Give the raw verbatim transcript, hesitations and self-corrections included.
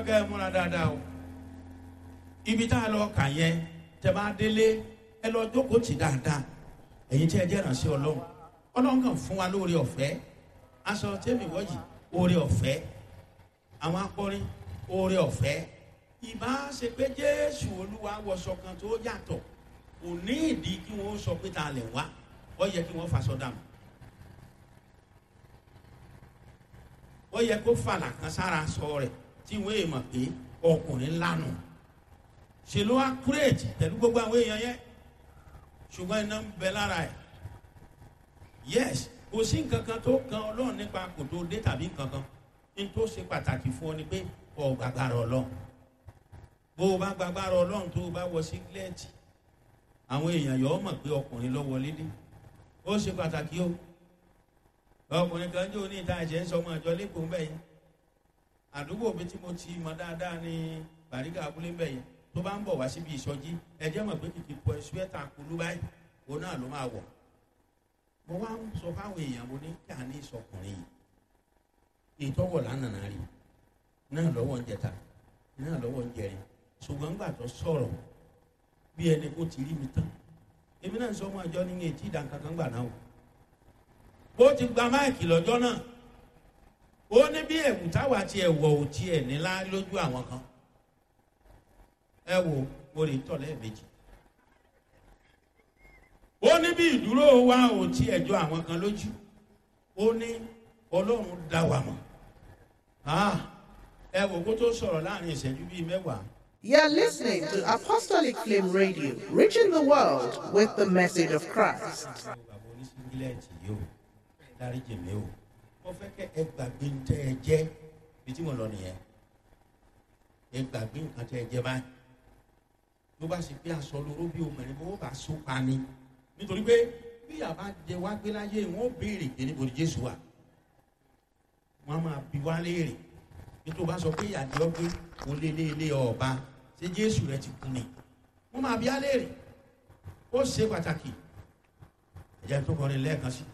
kẹ́ ẹ múra dáadáa o. Ibi tá a lọ kà yẹn, tẹ́ bá délé, ẹ lọ jókòó tì dáadáa. Ẹ̀yin tí ẹ jẹ́ ìrànṣẹ́ Ọlọ́run, Ọlọ́run kàn fún wa lóore ọ̀fẹ́. Aṣọ tẹ́mi wọ́jì, oore ọ̀fẹ́. Àwọn akọrin, oore ọ̀fẹ́. Ìbá ṣe pé Jésù Olúwa wọṣọ kan tó yàtọ̀, kò ní ìdí kí wọ́n sọ pé ta lẹ̀ wá. Ó yẹ kí wọ́n faṣọ dànù, ó yẹ kó fàlà kan sára sọ rẹ̀ tí wọ́n èèmọ̀ pé ọkùnrin ńlá nù. Ṣe ló wá kúrèjì pẹ̀lú gbogbo àwọn èèyàn yẹn? Ṣùgbọ́n iná ń bẹ lára ẹ̀. Yes, kò sí nǹkan kan tó kan Ọlọ́run nípa kò tó dé tàbí nǹkan kan. Ní tó ṣe pàtàkì fún ọ ni pé ọ gbàgbára Ọlọ́run. Bó o bá gbàgbára Ọlọ́run, tó o bá wọ sígílẹ́ẹ̀tì, àwọn èèyàn yọ̀ ọ́ mọ̀ pé ọkùnrin ló wọlé dé. Ó ṣe pàtàkì o. Ọkùnrin kan jẹ́ oní ìta ẹ̀jẹ̀ ń sọ ọmọ àjọ lẹ́kọ̀ọ́ ń bẹ̀ yẹn. Àdúgbò mi tí mo ti mọ dáadáa ní Bàrígà abúlé ń bẹ̀ yẹn. Tó bá ń bọ̀ wá síbi ìsọjí, ẹ̀jẹ̀ mọ̀ pé kìkì pọ̀ ṣúẹ́tà kulú báyìí òun náà ló máa wọ̀. Mo wá ń sọ fáwọn èèyàn, mo ní kí a ní ìsọkùnrin yìí ìtọ́wọ̀ lánàá rí náà lọ́wọ́ ń jẹta náà lọ́wọ́ ń jẹrin. Ṣùgbọ́n gbà tó sọ̀rọ̀, bí ẹni kó ti rí mi tán. Èmi náà ń sọ ọmọ àjọ ní etí ìdánkankan gbà náà o. Ó ti gba máìkì lọ́jọ́ náà. Ó ní bí ẹ̀wù táwa ti ẹ̀wọ̀ ò tiẹ̀ nílá lójú àwọn kan. Ẹ wo, mo lè tọ̀ lẹ́ẹ̀mejì. Ó ní bí ìdúró wa ò tiẹ̀ jọ àwọn kan lójú. Ó ní Ọlọ́run dá wa mọ̀. Ah, ẹ wò kó tó sọ̀rọ̀ láàrin ìṣẹ́jú bíi mẹ́wàá. You're listening to Apostolic Flame Radio, reaching the world with the message of Christ. Bàbá oníṣíngílẹ̀tì yìí o, dáríjì mi o, mo fẹ́ kẹ́ ẹ gbàgbé ń tẹ́ ẹ jẹ́ bí tí mo lọ nìyẹn. Ẹ gbàgbé nǹkan tẹ́ ẹ jẹ́ báyìí. Ló bá sì pé aṣọ lóró bí obìnrin bó bá so pa ni, nítorí pé bí yàrá jẹ wá gbé láyé, wọn ó béèrè pé níbo ni Jésù wà. Wọn á máa bi wá léèrè. Nítorí bá sọ pé ìyàdí ọgbẹ oléléèlé ọba, ṣé Jésù rẹ ti kú ni? Wọn máa bi á léèrè. Ó ṣe pàtàkì. Ẹ̀jẹ̀ tó kọrin lẹ́ẹ̀kan sí.